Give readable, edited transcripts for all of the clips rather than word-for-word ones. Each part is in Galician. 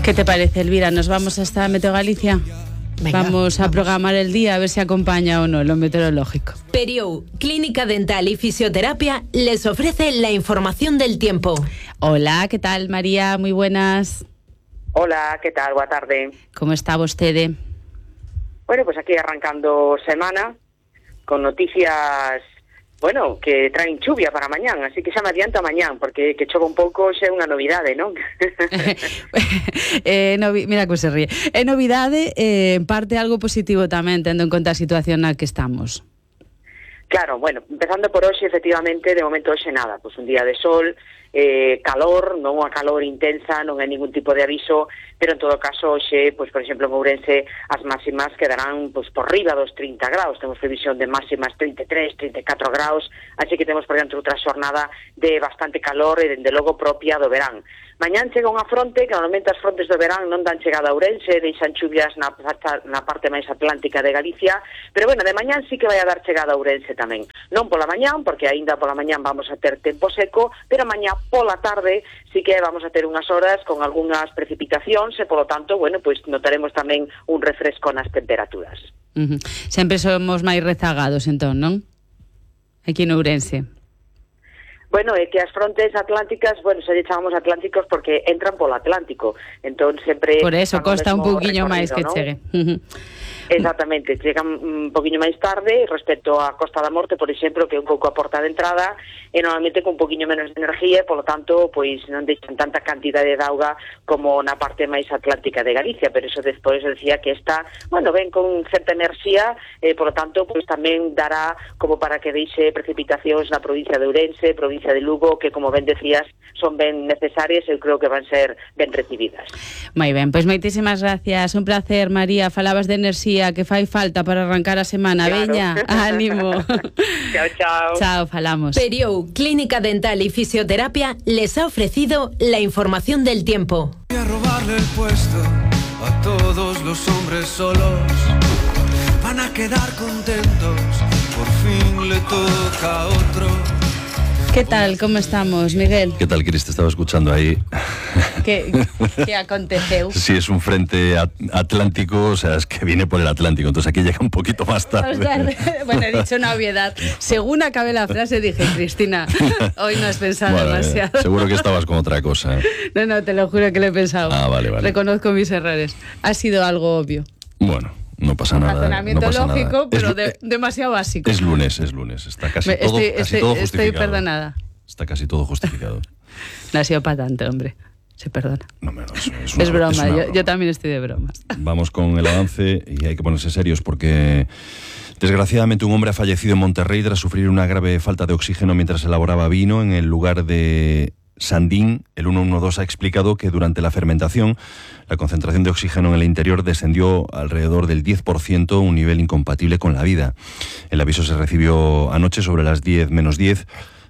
¿Qué te parece, Elvira? ¿Nos vamos hasta Meteo Galicia? Venga, vamos a programar el día a ver si acompaña o no lo meteorológico. Periou, Clínica Dental y Fisioterapia, les ofrece la información del tiempo. Hola, ¿qué tal, María? Muy buenas. Hola, ¿qué tal? Boa tarde. ¿Cómo está vostede? Bueno, pues aquí arrancando semana con noticias, bueno, que traen chuvia para mañán, así que xa me adianta mañán, porque que chova un pouco xa é unha novidade, non? Mira que se ríe. É novidade, en parte algo positivo tamén, tendo en conta a situación na que estamos. Claro, bueno, empezando por hoxe, efectivamente, de momento hoxe nada, pues un día de sol, calor, non unha calor intensa, non hai ningún tipo de aviso, pero en todo caso hoxe, pues por exemplo en Ourense as máximas quedarán pues por riba dos 30 graus, temos previsión de máximas 33, 34 graus, así que temos por dentro outra xornada de bastante calor e dende logo propia do verán. Mañán chega unha fronte, que normalmente as frontes do verán non dan chegada a Ourense, deixan chuvias na parte máis atlántica de Galicia, pero bueno, de mañán sí que vai a dar chegada a Ourense tamén. Non pola mañán, porque aínda pola mañán vamos a ter tempo seco, pero mañá pola tarde sí que vamos a ter unhas horas con algunhas precipitacións e, polo tanto, bueno, pois notaremos tamén un refresco nas temperaturas. Sempre somos máis rezagados, entón, non? Aquí en Ourense. Bueno, é que as frontes atlánticas, bueno, se lle chamamos atlánticos porque entran polo Atlántico, entón sempre... Por eso costa un pouquiño máis que chegue. Exactamente, chegan un poquinho máis tarde respecto á Costa da Morte, por exemplo, que é un pouco a porta de entrada, e normalmente con un poquinho menos de energía, e, polo tanto, pois non deixan tanta cantidade de auga como na parte máis atlántica de Galicia, pero eso despois decía que esta, bueno, ven con certa enerxía, e, polo tanto, pois tamén dará como para que deixe precipitacións na provincia de Ourense, provincia de Lugo, que, como ben decías, son ben necesarias e eu creo que van ser ben recibidas. Moi ben, pois moitísimas gracias, un placer, María, falabas de enerxía que fai falta para arrancar a semana. Claro. Veña, ánimo. Chao, chao. Chao, falamos. Periou, Clínica Dental y Fisioterapia, les ha ofrecido la información del tiempo. Voy a robarle el puesto a todos los hombres solos. Van a quedar contentos, por fin le toca a otro. ¿Qué tal? ¿Cómo estamos, Miguel? ¿Qué tal, Cris? Te estaba escuchando ahí. ¿Qué aconteceu? Sí, es un frente atlántico, o sea, es que viene por el Atlántico, entonces aquí llega un poquito más tarde. Bueno, he dicho una obviedad. Según acabé la frase dije, Cristina, hoy no has pensado demasiado. Seguro que estabas con otra cosa. No, te lo juro que lo he pensado. Ah, vale. Reconozco mis errores. Ha sido algo obvio. Bueno. No pasa nada. Razonamiento lógico, nada. pero demasiado básico. Es lunes. Está casi todo justificado. Estoy perdonada. Está casi todo justificado. No ha sido para tanto, hombre. Se perdona. No menos. Es broma. Yo también estoy de bromas. Vamos con el avance y hay que ponerse serios porque desgraciadamente un hombre ha fallecido en Monterrey tras sufrir una grave falta de oxígeno mientras elaboraba vino en el lugar de Sandín. El 112 ha explicado que durante la fermentación la concentración de oxígeno en el interior descendió alrededor del 10%, un nivel incompatible con la vida. El aviso se recibió anoche sobre las 10 menos 10,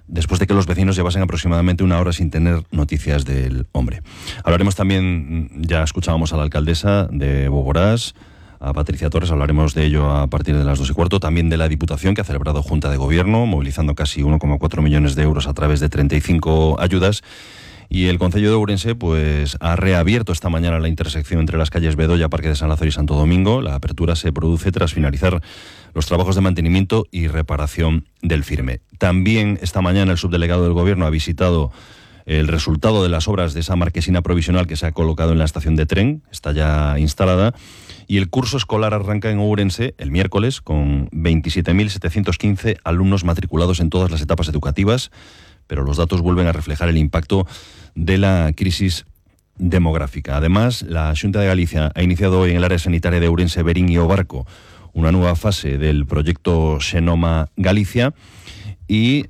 después de que los vecinos llevasen aproximadamente una hora sin tener noticias del hombre. Hablaremos también, ya escuchábamos a la alcaldesa de Boborás, a Patricia Torres, hablaremos de ello a partir de las 2:15, también de la Diputación, que ha celebrado Junta de Gobierno, movilizando casi 1,4 millones de euros a través de 35 ayudas. Y el Concello de Ourense pues ha reabierto esta mañana la intersección entre las calles Bedoya, Parque de San Lázaro y Santo Domingo. La apertura se produce tras finalizar los trabajos de mantenimiento y reparación del firme. También esta mañana el subdelegado del Gobierno ha visitado el resultado de las obras de esa marquesina provisional que se ha colocado en la estación de tren, está ya instalada, y el curso escolar arranca en Ourense el miércoles con 27.715 alumnos matriculados en todas las etapas educativas, pero los datos vuelven a reflejar el impacto de la crisis demográfica. Además, la Xunta de Galicia ha iniciado hoy en el área sanitaria de Ourense, Berín y Obarco una nueva fase del proyecto Xenoma Galicia. Y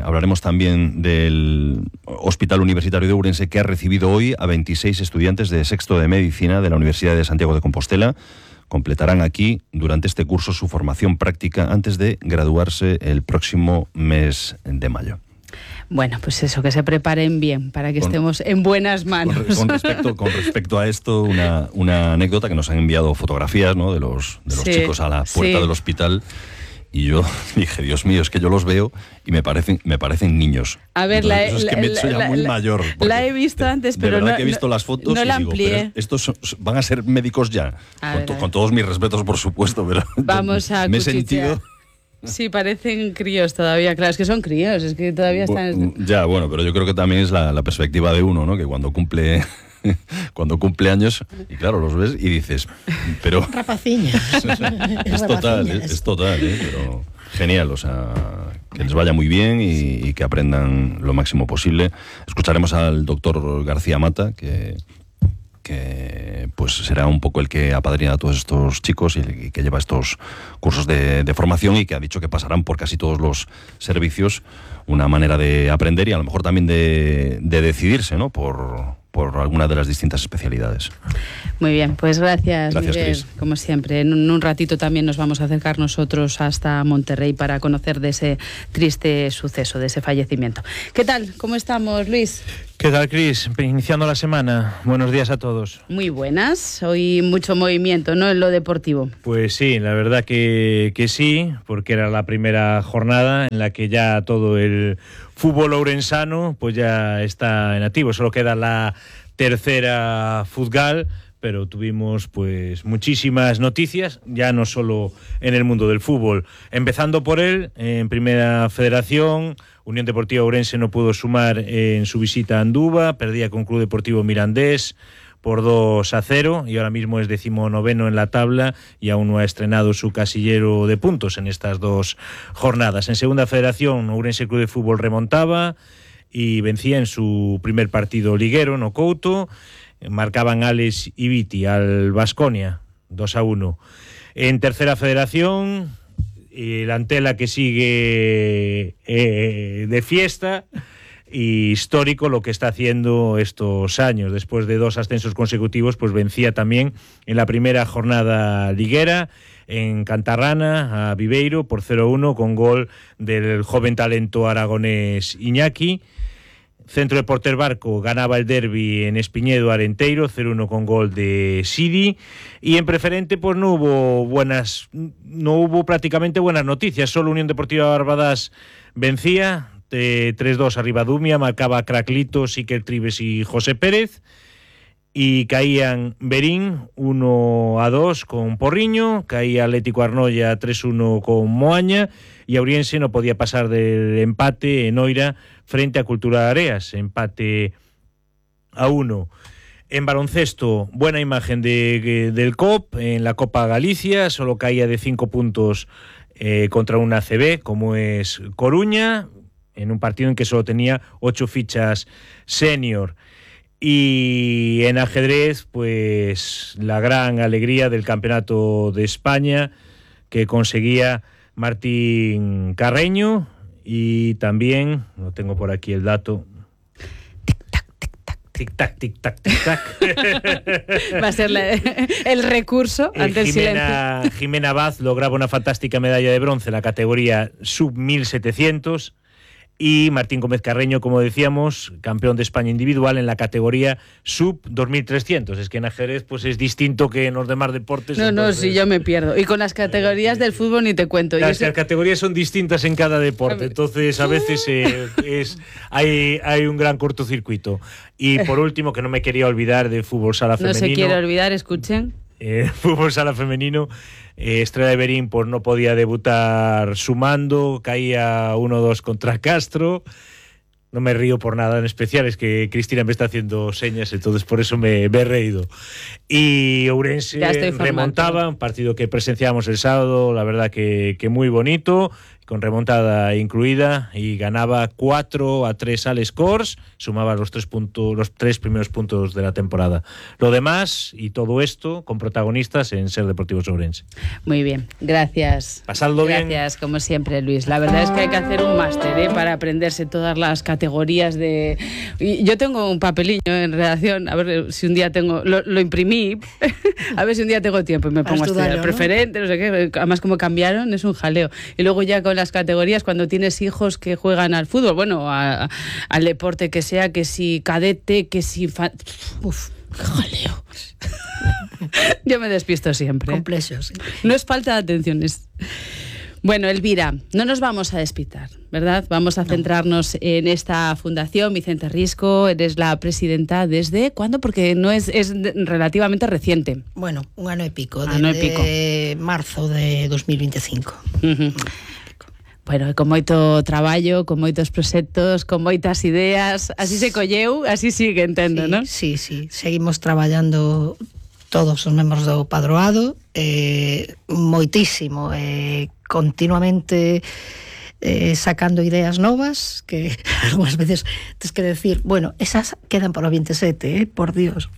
hablaremos también del Hospital Universitario de Ourense, que ha recibido hoy a 26 estudiantes de sexto de Medicina de la Universidad de Santiago de Compostela. Completarán aquí, durante este curso, su formación práctica antes de graduarse el próximo mes de mayo. Bueno, pues eso, que se preparen bien para que estemos en buenas manos. Con respecto a esto, una anécdota que nos han enviado fotografías, ¿no?, de los chicos a la puerta del hospital. y yo dije, Dios mío, es que yo los veo y me parecen niños. A ver, entonces, es que me he hecho ya muy mayor. La he visto antes, pero de verdad no, que he visto las fotos no y la digo, amplié. pero estos van a ser médicos ya. Con todos mis respetos, por supuesto, pero vamos a me he cuchichear. sentido... Sí, parecen críos todavía, claro, es que son críos, es que todavía están... Ya, bueno, pero yo creo que también es la perspectiva de uno, ¿no? Que cuando cumple años, y claro, los ves y dices, pero... Rapaciña. es total, pero genial, o sea, que les vaya muy bien y que aprendan lo máximo posible. Escucharemos al doctor García Mata, que pues será un poco el que apadrina a todos estos chicos y que lleva estos cursos de formación y que ha dicho que pasarán por casi todos los servicios, una manera de aprender y a lo mejor también de decidirse, ¿no? por alguna de las distintas especialidades. Muy bien, pues gracias Miguel, Chris. como siempre. En un ratito también nos vamos a acercar nosotros hasta Monterrey para conocer de ese triste suceso, de ese fallecimiento. ¿Qué tal? ¿Cómo estamos, Luis? ¿Qué tal, Cris? Iniciando la semana. Buenos días a todos. Muy buenas. Hoy mucho movimiento, ¿no?, en lo deportivo. Pues sí, la verdad que sí, porque era la primera jornada en la que ya todo el fútbol ourensano pues ya está en activo. Solo queda la tercera Futgal, pero tuvimos pues muchísimas noticias, ya no solo en el mundo del fútbol. Empezando por él, en Primera Federación, Unión Deportiva Ourense no pudo sumar en su visita a Anduva, perdía con Club Deportivo Mirandés por 2-0 y ahora mismo es 19º en la tabla y aún no ha estrenado su casillero de puntos en estas dos jornadas. En Segunda Federación, Ourense Club de Fútbol remontaba y vencía en su primer partido liguero no Couto. Marcaban Alex y Viti al Baskonia 2-1. En Tercera Federación, el Antela que sigue de fiesta, y histórico lo que está haciendo estos años. Después de 2 ascensos consecutivos, pues vencía también en la primera jornada liguera en Cantarrana a Viveiro por 0-1 con gol del joven talento aragonés Iñaki. Centro de Porter Barco ganaba el derbi en Espiñedo Arenteiro 0-1 con gol de Sidi, y en preferente pues no hubo prácticamente buenas noticias. Solo Unión Deportiva Barbadas vencía 3-2 a Ribadumia, marcaba Craclito, Siquel Tribes y José Pérez, y caían Berín 1-2 con Porriño, caía Atlético Arnoia 3-1 con Moaña, y Auriense no podía pasar del empate en Oira frente a Cultura de Areas, empate a 1. En baloncesto, buena imagen del COP en la Copa Galicia, solo caía de 5 puntos contra una ACB como es Coruña, en un partido en que solo tenía 8 fichas senior. Y en ajedrez, pues la gran alegría del Campeonato de España que conseguía Martín Carreño, y también, no tengo por aquí el dato, tic-tac, tic-tac, tic-tac. Va a ser el recurso ante el silencio. Jimena Vaz lograba una fantástica medalla de bronce en la categoría sub-1700, y Martín Gómez Carreño, como decíamos, campeón de España individual en la categoría sub-2300. Es que en ajedrez pues es distinto que en los demás deportes. No, entonces... sí, yo me pierdo. Y con las categorías del fútbol ni te cuento. Las categorías son distintas en cada deporte, entonces a veces hay un gran cortocircuito. Y por último, que no me quería olvidar de fútbol sala femenino. No se quiere olvidar, escuchen. Fútbol sala femenino, Estrella de Berín pues no podía debutar sumando, caía 1-2 contra Castro. No me río por nada en especial, es que Cristina me está haciendo señas, entonces por eso me he reído. Y Ourense remontaba, un partido que presenciamos el sábado, la verdad que muy bonito, con remontada incluida, y ganaba 4-3 al Scores, sumaba los 3 primeros puntos de la temporada. Lo demás, y todo esto, con protagonistas en Ser Deportivos Ourense. Muy bien, gracias. Pasadlo bien. Gracias, como siempre, Luis. La verdad es que hay que hacer un máster para aprenderse todas las categorías de... Yo tengo un papelillo en redacción, a ver si un día tengo... Lo imprimí, a ver si un día tengo tiempo y me pongo a estudiar, ¿no? Preferente, no sé qué. Además, como cambiaron, es un jaleo. Y luego ya con las categorías, cuando tienes hijos que juegan al fútbol, bueno, al deporte que sea, que si cadete, que si... Uf, qué jaleo. Yo me despisto siempre. Complejos. Sí. No es falta de atención, es... Bueno, Elvira, no nos vamos a despistar, ¿verdad? Vamos a centrarnos en esta fundación, Vicente Risco. Eres la presidenta ¿desde cuándo? Porque no es relativamente reciente. Bueno, un ano e pico, desde marzo de 2025. Bueno, con moito traballo, con moitos proxectos, con moitas ideas, así se colleu, así sigue, entendo, sí, non? Sí, seguimos traballando todos os membros do padroado, moitísimo, continuamente sacando ideas novas que algunhas veces tens que decir, bueno, esas quedan para o 27, por Dios.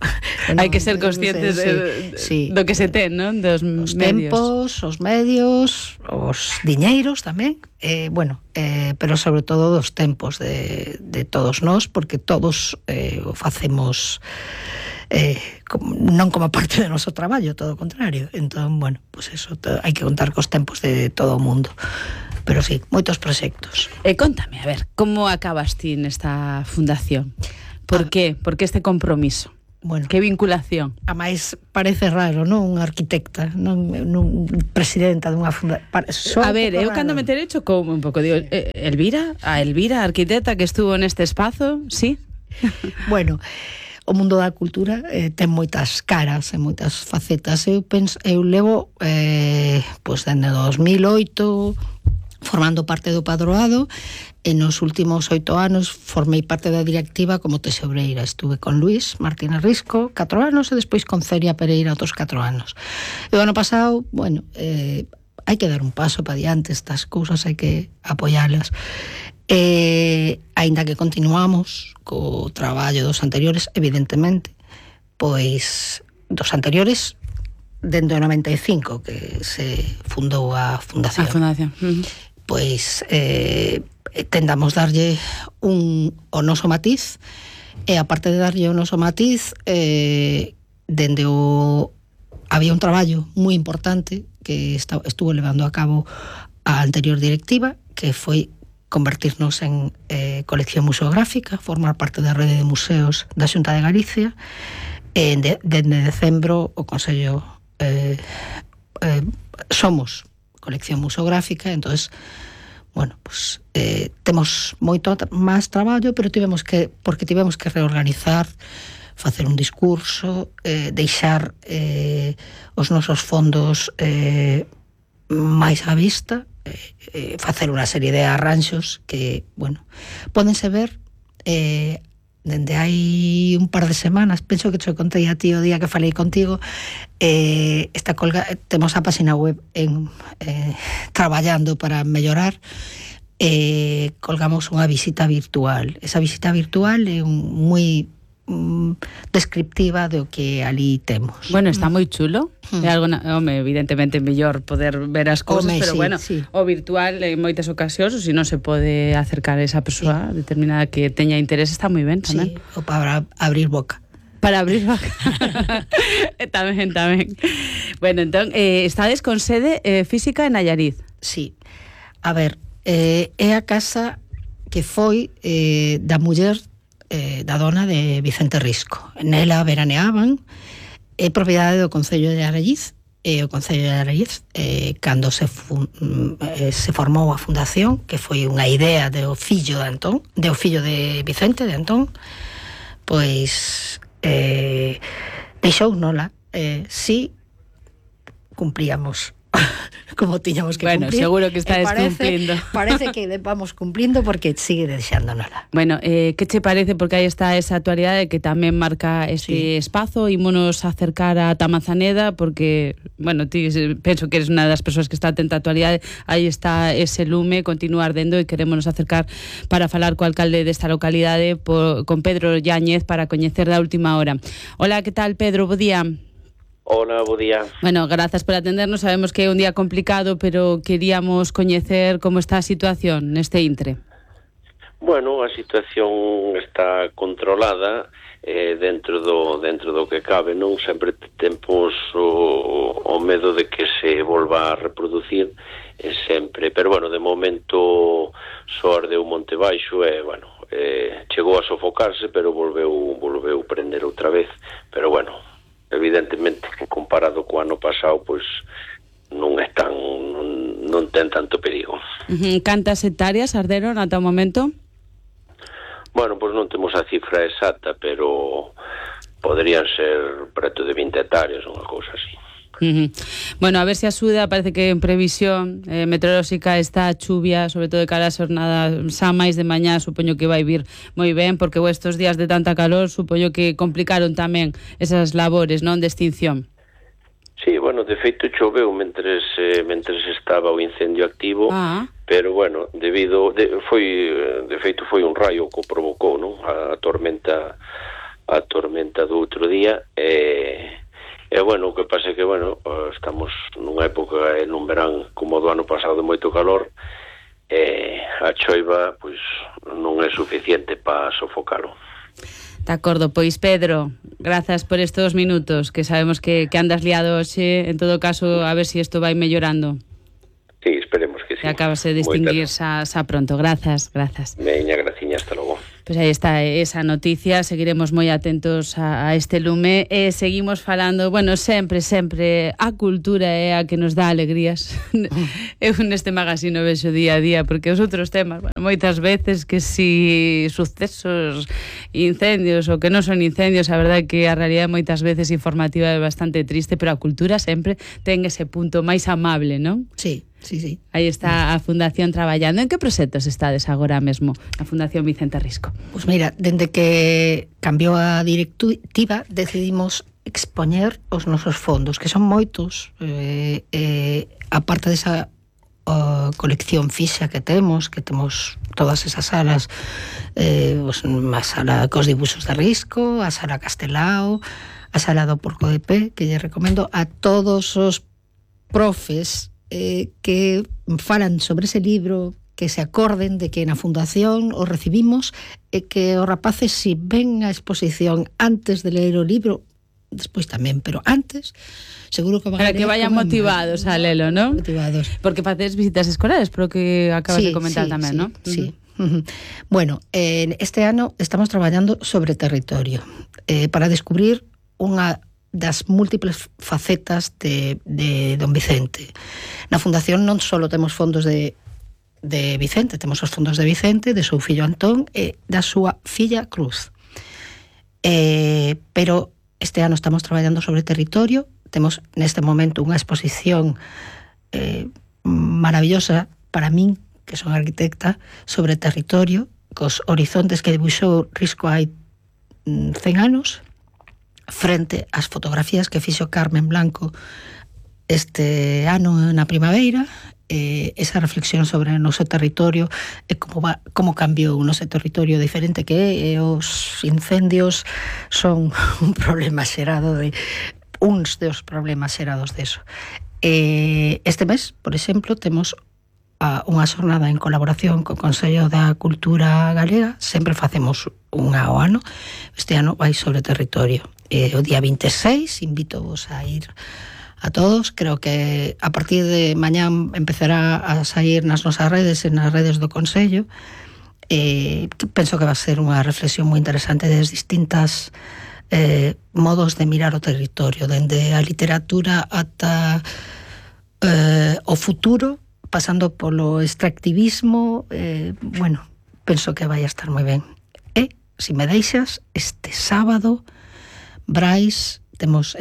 Hai que ser conscientes do que se ten, non? Dos os medios. tempos, os medios, os diñeiros tamén, pero sobre todo dos tempos de todos nós, porque todos o facemos non como parte do noso traballo, todo o contrario. Entón, bueno, pues eso, hai que contar cos tempos de todo o mundo. Pero sí, moitos proxectos. Contame, a ver, como acabas ti nesta fundación? Por qué? Por que este compromiso? Bueno, que vinculación? A máis parece raro, non? Unha arquitecta, non presidenta dunha fundación. A ver, eu cando me enterei chocou un pouco, digo, Elvira, a arquitecta que estuvo neste espazo, sí? Bueno, o mundo da cultura ten moitas caras e moitas facetas. Eu levo pois dende 2008 formando parte do padroado, e nos últimos 8 anos formei parte da directiva como tesoureira. Estuve con Luis Martínez Risco 4 anos e despois con Celia Pereira outros 4 anos. E o ano pasado, bueno, hai que dar un paso para diante, estas cousas hai que apoialas. Aínda que continuamos co traballo dos anteriores, evidentemente, pois dos anteriores dende o 95 que se fundou a fundación. A fundación. Pois tendamos darlle o noso matiz, e aparte de darlle o noso matiz, dende había un traballo moi importante que estuvo levando a cabo a anterior directiva, que foi convertirnos en colección museográfica, formar parte da rede de museos da Xunta de Galicia. Dende decembro o Consello somos colección museográfica, entonces, bueno, pues temos moito máis traballo, pero tivemos que reorganizar, facer un discurso, deixar os nosos fondos máis á vista, facer unha serie de arranxos que, bueno, pódense ver dende hai un par de semanas. Penso que te contei a ti o día que falei contigo. Temos a página web traballando para mellorar. Colgamos unha visita virtual. Esa visita virtual é moi descriptiva do que ali temos. Bueno, está moi chulo. É algo, evidentemente mellor poder ver as cousas, pero bueno, sí. O virtual en moitas ocasións, ou se non se pode acercar a esa persoa determinada que teña interés, está moi ben tamén. Sí, ou para abrir boca. Para abrir boca. tamén. Bueno, entón, estades con sede física en Nayarit. Sí. A ver, é a casa que foi da muller da dona de Vicente Risco. Nela veraneaban, é propiedade do Concello de Aralliz, e o Concello de Aralliz, cando se formou a fundación, que foi unha idea do fillo de Antón, do fillo de Vicente, de Antón, pois deixou nola. Si cumplíamos como tiñamos que cumplir. Bueno, seguro que estáis cumplindo. Parece que vamos cumplindo porque sigue deixándonola. Bueno, que che parece, porque aí está esa actualidade que tamén marca este espazo, ímonos acercar a Tamazaneda, porque, bueno, ti penso que eres unha das persoas que está atenta á actualidade, aí está ese lume, continúa ardendo, e queremos acercar para falar co alcalde desta localidade, con Pedro Yáñez, para coñecer da última hora. Hola, que tal, Pedro? Bo día. Hola, bo día. Bueno, grazas por atendernos, sabemos que é un día complicado, pero queríamos coñecer como está a situación neste intre. Bueno, a situación está controlada dentro do que cabe, non? Sempre temos o medo de que se volva a reproducir sempre, pero bueno, de momento só ardeu Monte Baixo e, bueno, chegou a sofocarse, pero volveu prender outra vez, pero bueno, evidentemente comparado co ano pasado, pois non non ten tanto perigo. Cantas hectáreas arderon ata o momento? Bueno, pois non temos a cifra exacta, pero poderían ser preto de 20 hectáreas, unha cousa así. Bueno, a ver se axuda, parece que en previsión meteorolóxica está a chuvia, sobre todo de cara a xornada xa máis de mañá, supoño que vai vir moi ben, porque estes días de tanta calor supoño que complicaron tamén esas labores, non, de extinción. Sí, bueno, de feito choveu mentres estaba o incendio activo, pero bueno, de feito foi un raio que o provocou, non? A tormenta do outro día, e bueno, o que pasa é que, bueno, estamos nunha época, nun verán como do ano pasado de moito calor, a choiva, pois, non é suficiente para sofocalo. De acordo, pois Pedro, grazas por estes minutos, que sabemos que andas liado hoxe, en todo caso, a ver se isto vai mellorando. Sí, esperemos que sí. Que acabase de distinguir xa pronto. Grazas. Veña, graciña, hasta logo. Pois aí está esa noticia, seguiremos moi atentos a este lume e seguimos falando, bueno, sempre a cultura é a que nos dá alegrías. Eu neste magazine vexo día a día, porque os outros temas, bueno, moitas veces que si sucesos, incendios ou que non son incendios, a verdade é que a realidade moitas veces informativa é bastante triste, pero a cultura sempre ten ese punto máis amable, non? Sí. Aí está a Fundación traballando. En que proxectos estades agora mesmo a Fundación Vicente Risco? Pois mira, dende que cambiou a directiva decidimos expoñer os nosos fondos, que son moitos, aparte desa colección fixa que temos todas esas salas, a sala cos dibuxos de Risco, a sala Castelao, a sala do Porco de Pé, que lle recomendo a todos os profes que falan sobre ese libro, que se acorden de que na Fundación o recibimos e que os rapaces, si ven a exposición antes de ler o libro, despois tamén, pero antes seguro que van para que vayan motivados a lelo, non? Motivados. Porque facedes visitas escolares, pero que acabas de comentar tamén, non? Sí. Bueno, este ano estamos traballando sobre territorio para descubrir unha das múltiples facetas de don Vicente. Na Fundación non só temos fondos de Vicente, temos os fondos de Vicente, de seu fillo Antón e da súa filla Cruz. Pero este ano estamos traballando sobre territorio, temos neste momento unha exposición maravillosa para min, que son arquitecta, sobre territorio, cos horizontes que dibuixou Risco hai 100 anos, frente ás fotografías que fixo Carmen Blanco este ano na primavera, esa reflexión sobre o noso territorio e como cambiou o noso territorio diferente que é, os incendios son un problema xerado uns dos problemas xerados deso. Este mes, por exemplo, temos unha xornada en colaboración co Consello da Cultura Galega, sempre facemos unha ao ano, este ano vai sobre territorio. O día 26, invito-vos a ir a todos, creo que a partir de mañán empezará a sair nas nosas redes e nas redes do Consello, penso que va a ser unha reflexión moi interesante das distintas modos de mirar o territorio, dende a literatura ata o futuro, pasando polo extractivismo, bueno, penso que vai a estar moi ben. E, se me deixas, este sábado Brais, temos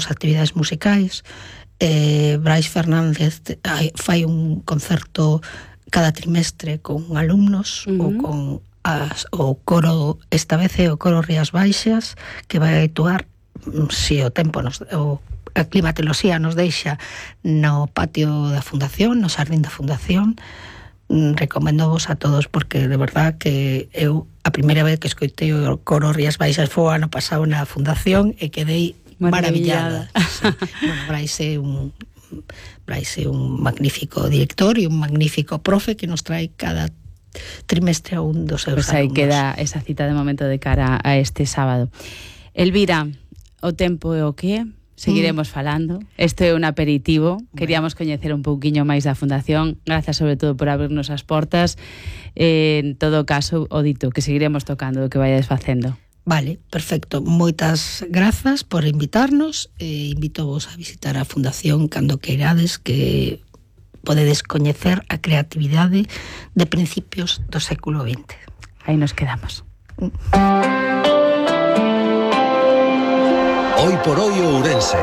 actividades musicais, Brais Fernández fai un concerto cada trimestre con alumnos ou con o coro, esta vez é o coro Rías Baixas, que vai actuar, se o tempo a climatoloxía nos deixa, no patio da Fundación, no xardín da Fundación. Recomendo vos a todos, porque de verdad que eu a primeira vez que escoitei o coro Rías Baixas foi o ano pasado na Fundación e quedei maravillada. Sí. Bueno, Brais é un magnífico director e un magnífico profe que nos trae cada trimestre a un dos seus alumnos. Aí queda esa cita de momento de cara a este sábado. Elvira, o tempo é o que? Seguiremos falando. Isto é un aperitivo. Queríamos coñecer un pouquiño máis da Fundación. Grazas sobre todo por abrirnos as portas. En todo caso, o dito, que seguiremos tocando o que vayades facendo. Vale, perfecto. Moitas grazas por invitarnos. Invito vos a visitar a Fundación cando queirades, que podedes coñecer a creatividade de principios do século XX. Aí nos quedamos. Hoy por hoy Ourense.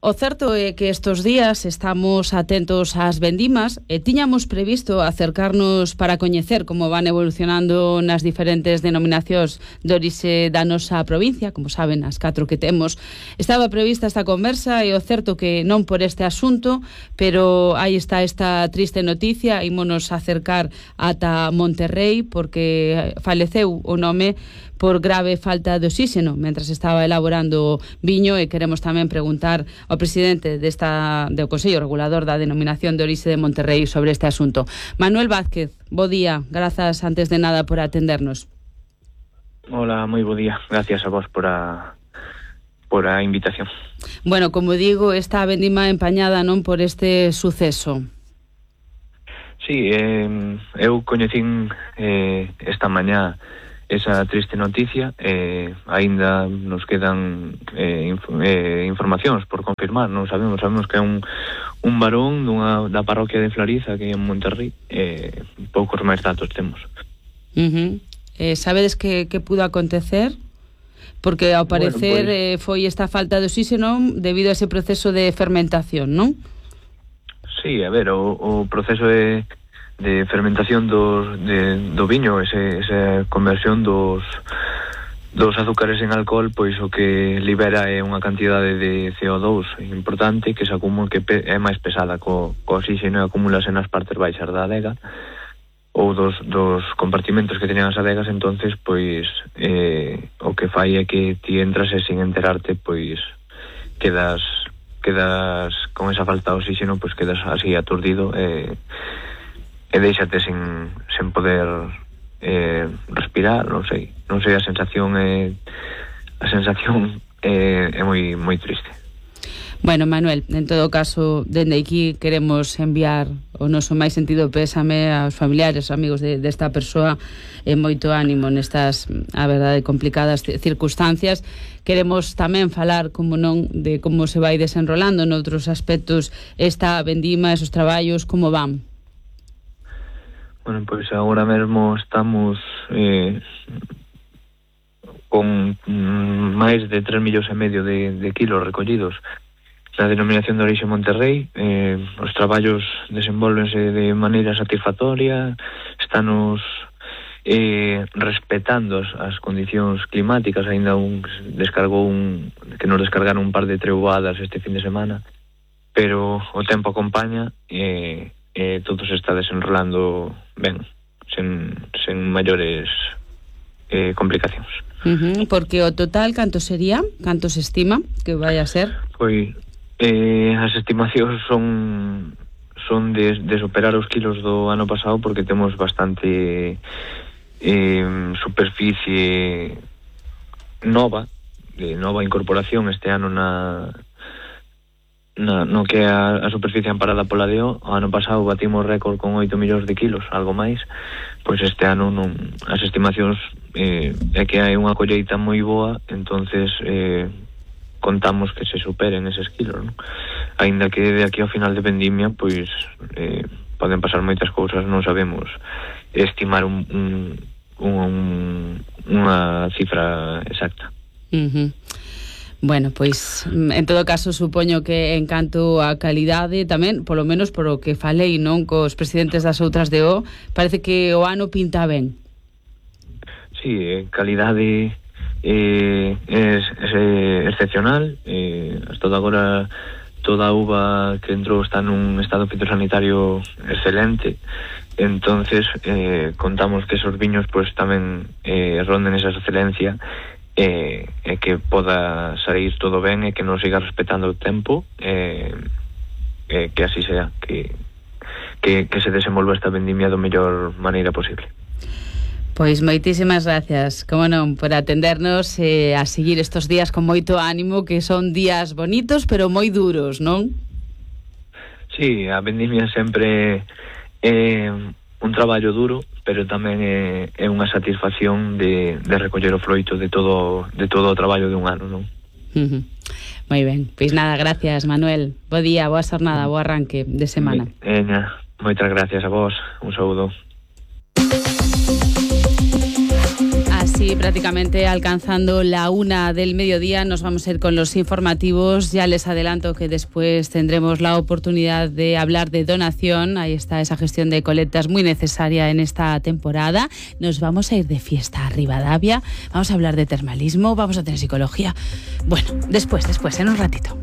O certo é que estes días estamos atentos ás vendimas e tiñamos previsto acercarnos para coñecer como van evolucionando nas diferentes denominacións de orixe da nosa provincia, como saben, as 4 que temos. Estaba prevista esta conversa e o certo que non por este asunto, pero aí está esta triste noticia, ímonos acercar ata Monterrey porque faleceu o nome por grave falta de oxígeno mentras estaba elaborando viño e queremos tamén preguntar ao presidente do Consello Regulador da Denominación de Orixe de Monterrey sobre este asunto. Manuel Vázquez, bo día, grazas antes de nada por atendernos. Hola, moi bo día, gracias a vos por a invitación. Bueno, como digo, esta vendima empañada non por este suceso. Sí, eu coñecín esta mañá esa triste noticia, aínda nos quedan informacións por confirmar, non sabemos que é un varón da parroquia de Flariza que é en Monterrey, poucos máis datos temos. Sabedes que pudo acontecer? Porque ao parecer foi esta falta de oxígeno debido a ese proceso de fermentación, non? Sí, a ver, o proceso de fermentación do viño, esa conversión dos azúcares en alcohol, pois o que libera é unha cantidade de CO2 importante que se acumula, que é máis pesada co oxígeno e acumulase nas partes baixas da adega ou dos compartimentos que tenían as adegas. Entonces pois o que fai é que ti entras e sin enterarte pois quedas con esa falta de oxígeno, pois quedas así aturdido e deixate sen poder respirar, non sei a sensación é moi triste. Bueno, Manuel, en todo caso, dende aquí queremos enviar o noso máis sentido pésame aos familiares, amigos desta persoa e moito ánimo nestas, a verdade, complicadas circunstancias. Queremos tamén falar, como non, de como se vai desenrolando noutros aspectos esta vendima, esos traballos, como van. Bueno, pois agora mesmo estamos con máis de 3,5 millóns de kilos recollidos na denominación de orixe Monterrey. Os traballos desenvolvense de maneira satisfactoria, estanos respetando as condicións climáticas. Ainda que nos descargaron un par de treboadas este fin de semana, pero o tempo acompaña e todo se está desenrolando ben, sen maiores complicacións. Porque o total canto sería? Canto se estima que vai a ser? Pois as estimacións son de superar os kilos do ano pasado, porque temos bastante superficie nova, de nova incorporación este ano no que é a superficie amparada pola DEO. O ano pasado batimos récord con 8 millóns de kilos, algo máis. Pois este ano as estimacións é que hai unha colleita moi boa, entonces contamos que se superen eses kilos, non? Aínda que de aquí ao final de vendimia pois poden pasar moitas cousas, non sabemos estimar unha cifra exacta. Bueno, pois, en todo caso, supoño que en canto a calidade tamén, polo menos por o que falei, non, cos presidentes das outras DO, parece que o ano pinta ben. Sí, calidade é excepcional. Hasta agora toda a uva que entrou está nun estado fitosanitario excelente. Entonces contamos que esos viños pues tamén ronden esa excelencia, e que poda sair todo ben e que non siga respetando o tempo, que así sea, que se desenvolva esta vendimia do mellor maneira posible. Pois moitísimas gracias, como non, por atendernos e a seguir estes días con moito ánimo, que son días bonitos pero moi duros, non? Sí, a vendimia sempre é traballo duro, pero tamén é unha satisfacción de recoller o froito de todo o traballo de un ano, non? Moi ben, pois nada, gracias Manuel, bo día, boa xornada, bo arranque de semana. Moitas gracias a vos, un saúdo. Así prácticamente alcanzando la 1 del mediodía nos vamos a ir con los informativos. Ya les adelanto que después tendremos la oportunidad de hablar de donación. Ahí está esa gestión de colectas muy necesaria en esta temporada. Nos vamos a ir de fiesta a Rivadavia. Vamos a hablar de termalismo, vamos a tener psicología. Bueno, después, en un ratito.